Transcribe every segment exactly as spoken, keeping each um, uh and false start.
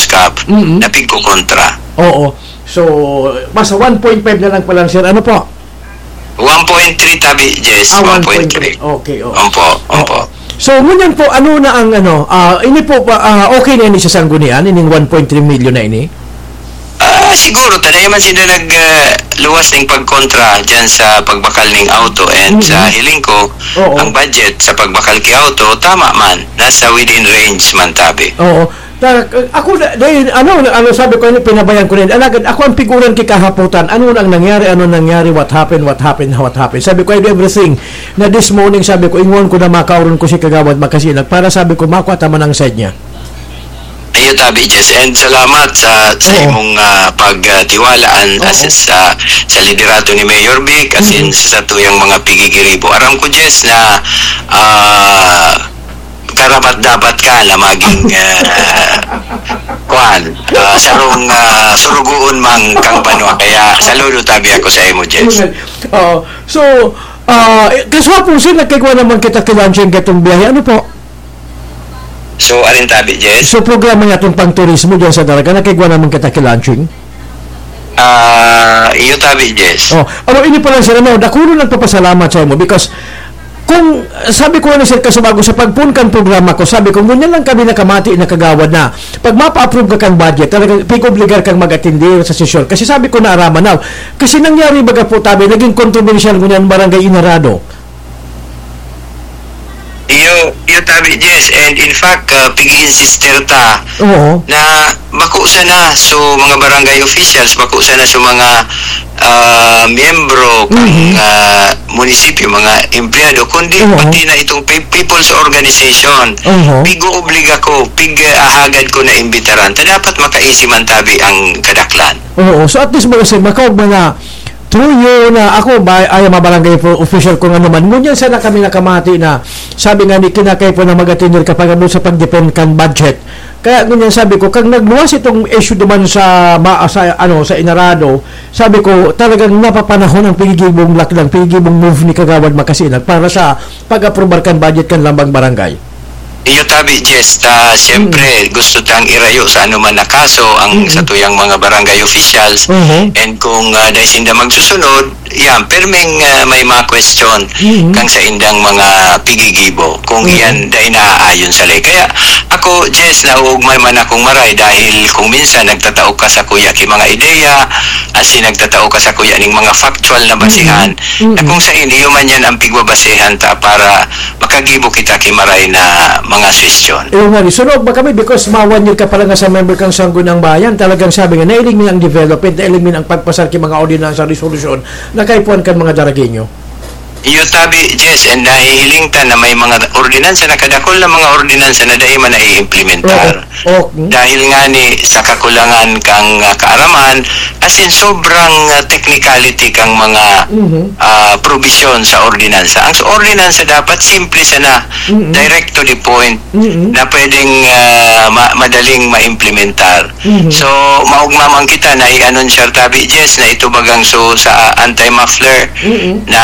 Cup Mm-mm. na pigkokontra. Oo. So, basta one point five na lang pala, sir. Ano po? One point three tabi, Jess. Ah, one point three. One point three. Okay, oo. Ompo, ompo. Oo. So, ngunyan po, ano na ang, ano, ah, ini po ba, ah, okay na ini sa Sanggunian, ining one point three million na ini? Ah, siguro, ta dai man sila nag, ah, luwas ning pagkontra dyan sa pagbakal ning auto and Mm. sa hiling ko, Oo. ang budget sa pagbakal ki auto, tama man, nasa within range man tabi. Oo. Ta-, ako na, dahil, ano, ano, sabi ko, ano, pinabayaan ko na yun. Alagad, ako ang piguran ki kahapotan. Ano ang nangyari? Ano nangyari? What happened? What happened? What happened? Sabi ko, I do everything. Na this morning, sabi ko, ingon ko na makaoron ko si Kagawad Makasinag para, sabi ko, makuha ta man ang side niya. Iyo tabi, Jess. And salamat sa, sa Oo. imong, ah, pagtiwala an-, Oo. as, sa, sa liderato ni Mayor Vic, as in, Mm-hmm. sa satuyang mga pigigiribo. Aram ko, Jess, na, ah, karapat-dapat ka na maging, ah, kwan, ah, sarong, ah, surugoon man kang banwa. Kaya saludo tabi ako sa imo, Jess. Oo. So, ah, eh, kaswapong, sir, nagkigwa naman kita ki Launching katong biyahe. Ano po? So, alin tabi, Jess? So, programa niya itong pang-turismo dyan sa Daraga, nakigwa naman kita ki Launching? Ah, iyo tabi, Jess. Oh, amo ini pa lang, sir, ano, dakula nagpapasalamat sa imo because kung, sabi ko ni Sir Casubago, sa pagpoon kan programa ko, sabi ko, ngunyan lang kami nakamati na kagawad na pag mapa-approve ka kan budget, talagang pig-obligar kang mag-atindi sa sesyon. Kasi sabi ko, naaraman na. Kasi nangyari, baga po, tabi, naging kontrobersyal ngunyan barangay Inarado. Iyo, iyo tabi, Jess. And in fact, ah, pig-i-insister ta Oo. na bako sana so mga barangay officials, bako sana so mga, ah, miyembro kan, Mhm. ah, munisipyo, mga empleyado, kundi Oo. pati na itong pe-, people's organization. Oo. Pig-oobliga ko, pig-ahagad ko na imbitaran. Ta dapat makaisi man tabi ang kadaklan. Oo. So at least, mga sir, makaog man na through you na ako, ba, ay, mga barangay po, official kung ano man. Ngunyan sana kami nakamati na, sabi nga ni Kinakay po na mag-attender ka pag-abot sa pag-defend kan budget. Kaya ngunyan sabi ko, kag nagluwas itong issue duman sa, ma-, sa, ano, sa Inarado, sabi ko, talagang napapanahon ang pigigibong lakdang, pigigibong move ni Kagawad Makasinag para sa pag-aprobar kan budget kan lambang barangay. Iyo tabi, Jess, ta siyempre Mm. gusto tang irayo sa anuman na kaso ang Mm. satuyang mga barangay officials. Mhm. And kung, ah, dai sinda magsusunod, yan, perming, ah, may mga question Mhm. kang saindang mga pigigibo. Kung Mhm. iyan dai naaayon sa ley. Kaya ako, Jess, nauugmay man akong maray dahil kung minsan nagtatao ka sa kuya ki mga ideya, asin nagtatao ka sa kuya ning mga factual na basihan, Mhm. na Mhm. kung sain iyo man yan ang pigbabasehan ta para makagibo kita ki maray na mga suhestyon. Iyo nga, ni sunog ba kami because ma one year ka pala nga sa member kang Sangguniang Bayan, talagang sabi nga, nailing mi ang development, nailing mi ang pagpasar ki mga ordinansa, resolusyon na kaipuhan kan mga Daragueño. Iyo tabi, Jess, and nahihiling ta na may mga ordinansa, nakadakol na mga ordinansa na dai man naiimplementar. Oo. Oh, hmm. Dahil nga ni sa kakulangan kang, ah, kaaraman, as in, sobrang, ah, technicality kang mga, Mhm. ah, probisyon sa ordinansa. Ang sa ordinansa dapat simple sana, Mhm. direct to the point, Mhm. na pwedeng, ah, ma-, madaling maimplementar. Mhm. So, maugma man kita na i-anunsiyar tabi, Jess, na ito bagang so sa anti-muffler Mhm. na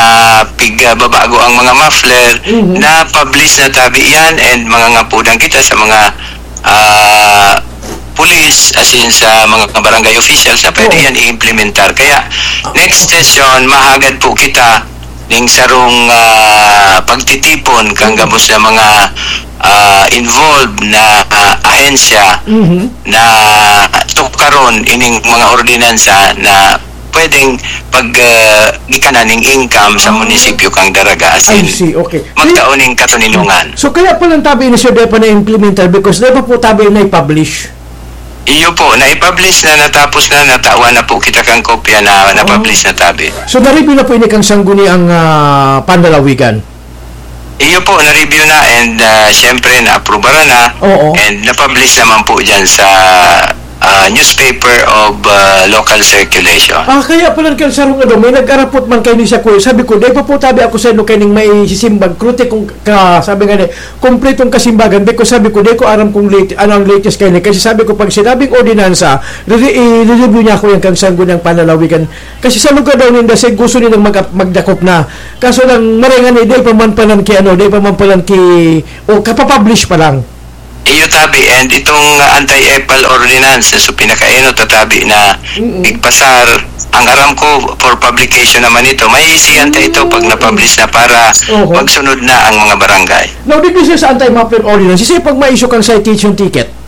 pig-, ah, babago ang mga muffler Mhm. na publish na tabi yan and mangangapudan kita sa mga ah, pulis, as in sa mga barangay officials na pwede Oo. yan i-implementar. Kaya, Ah, next oo. session, mahagad po kita ning sarong, ah, pagtitipon kang Mm. gabos na mga, ah, involved na, ah, ahensya Mhm. na tukaron ining mga ordinansa na pwedeng pag, ah, gikanan ning income sa Ah. munisipyo kang Daraga, as I in, see, okay. magtao ning katoninongan. So, kaya po lang tabi ini, sir, di pa na-implementar because di pa po tabi na-publish. Iyo po, na-publish na, natapos na, natawan na po kita kang kopya na, na-publish na tabi. So, na-review na po ini kang Sangguniang, ah, Panlalawigan? Iyo po, na-review na and, ah, siyempre, na-aprobaran na Oo. and na-publish naman po dyan sa, ah, newspaper of, ah, local circulation. Ah, kaya pala kan sarong ano, may nag-arapot man kay ni siya, kuya. Sabi ko, "Dai pa po tabi ako sa ino kay ning may sisimbag, krute kung ka," sabi nga ni, "kompletong kasimbagan." Di ko, sabi ko, "Di ko aram kung late, ano ang latest kay ni." Kasi sabi ko, pag sinabing ordinansa, re-, i-review niya ako yan kang Sangguniang Panlalawigan. Kasi sa lugar daw ninda, say gusto nilang mag-, magdakop na. Kaso lang, maringan ni, di pa man palan ki, ano, di pa man palan ki, o kapapublish pa lang. Iyo tabi, and itong, ah, anti-epal ordinance, so pinakaenot na tabi na Mm-mm. igpasar, ang aram ko, for publication naman ito. May siyan ta ito pag Mm. na-publish na para Oho. magsunod na ang mga barangay. Now, digdi siya sa anti-muffler ordinance, kasi pag ma-issue kang citation ticket?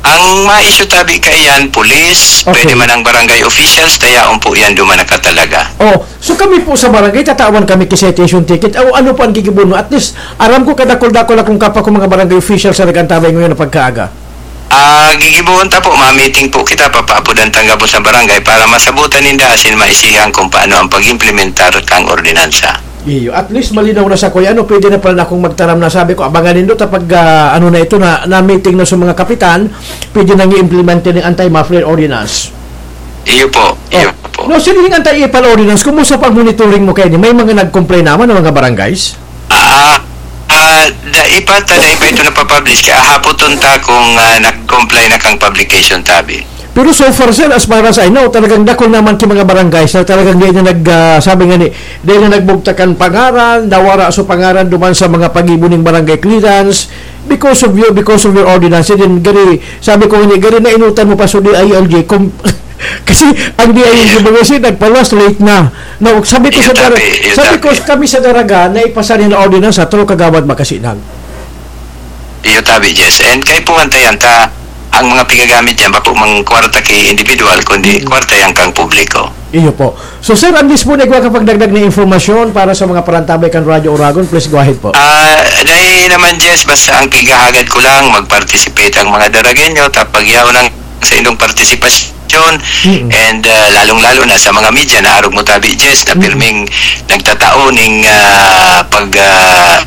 Ang ma-issue tabi kaiyan, pulis, Okay. pwede man ang barangay officials, tayaon po yan duman nakatalaga. Oh, so kami po sa barangay, tatawan kami ki citation ticket. O ano po ang gigibo mo? At least, aram ko kadakol-dakol akong kapa ko mga barangay officials na nag-antabay ngayon na pagkaaga. Ah, gigibohon ta po, ma-meeting po kita, papaapodan ta gabos na barangay para masabutan ninda asin maisihan kung paano ang pag-implementar kang ordinansa. Iyo, at least malinaw na sa kuya, ano, pwede na pala na akong magtaram na sabi ko, abangan nindo ta pag, ah, ano na ito, na, na meeting na sa mga kapitan, pwede nang i-implement yung anti-muffler ordinance. Iyo po, iyo Oh. po. No, sino yung anti-epal ordinance? Kumusta pag monitoring mo kayo? May mga nag-complain naman ng mga barangays? Ah, ah, dai pa, ta dai pa ito napapublish. Kaya hapoton ta kung, ah, nag-comply na kang publication tabi. Pero so far, sir, as far as I know, talagang dakul naman ki mga barangays na talagang di na nag, ah, sabi nga ni, di na nagbugtakan pangaran, nawara so pangaran duman sa mga pag-ibo ning barangay clearance because of you, because of your ordinance. And then, gari, sabi ko nga ni, gari na inutan mo pa so D I L G, kung, kasi ang D I L G Yeah. mga siya, nagpaluwas, late na. No, sabi ko Iyo sa Dara-, tabi, iyo sabi ko tabi. kami sa Daraga, na ipasa nila ordinance sa Tro Kagawad Makasinag. Iyo tabi, Jess. And kay puwan ta yan, ta, ang mga pigagamit yan, bako mang kwarta ki individual, kundi Mm. kwarta yan kang publiko. Iyo po. So, sir, ang mismo na igwa kapagdagdag na informasyon para sa mga parantabay kan Radyo Oragon, please go ahead po. Ah, dahil naman, Jess, basta ang pigahagad ko lang, mag-participate ang mga Daragenyo, tapag yaw ng sa inyong partisipasyon, Mm. and, ah, lalong-lalo na sa mga media na arog mo tabi, Jess, na Mm. pirming nagtatao ning, ah, pag, ah,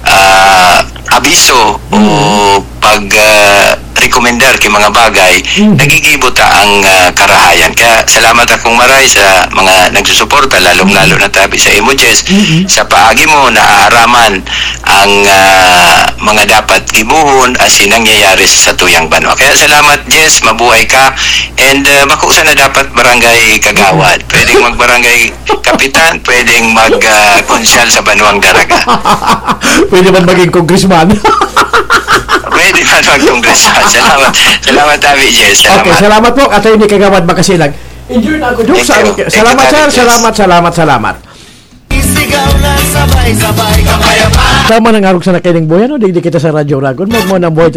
ah, abiso o Mm. pag, ah, rekomendar ki mga bagay, Mm. nagigibo ta ang, ah, karahayan. Kaya salamat akong maray sa mga nagsusuporta, lalong-lalo Mm. na tabi sa imo, Jess, Mm. sa paagi mo na aaraman ang, ah, mga dapat gibohon asin nangyayari sa satuyang banwa. Kaya salamat, Jess, mabuhay ka. And, ah, bako sana dapat barangay kagawad. Pwedeng magbarangay kapitan, pwedeng mag, ah, konsyal sa Banwang Daraga. Pwede man maging congressman. Pwede man mag-congressman. Salamat. Salamat, Abi Jess. Salamat. Okay, salamat po, Attorney Kagawad Makasilag. Enjoy na ako, Dok. Thank you. Sa-, Thank salamat, you, sir. Abi Jess. Salamat, salamat, salamat. Isigaw na sabay-sabay, kapayapaan. Tama nang arog sa nakaining buhay, no? Digdi kita sa Radyo Oragon. Magmo nang buhay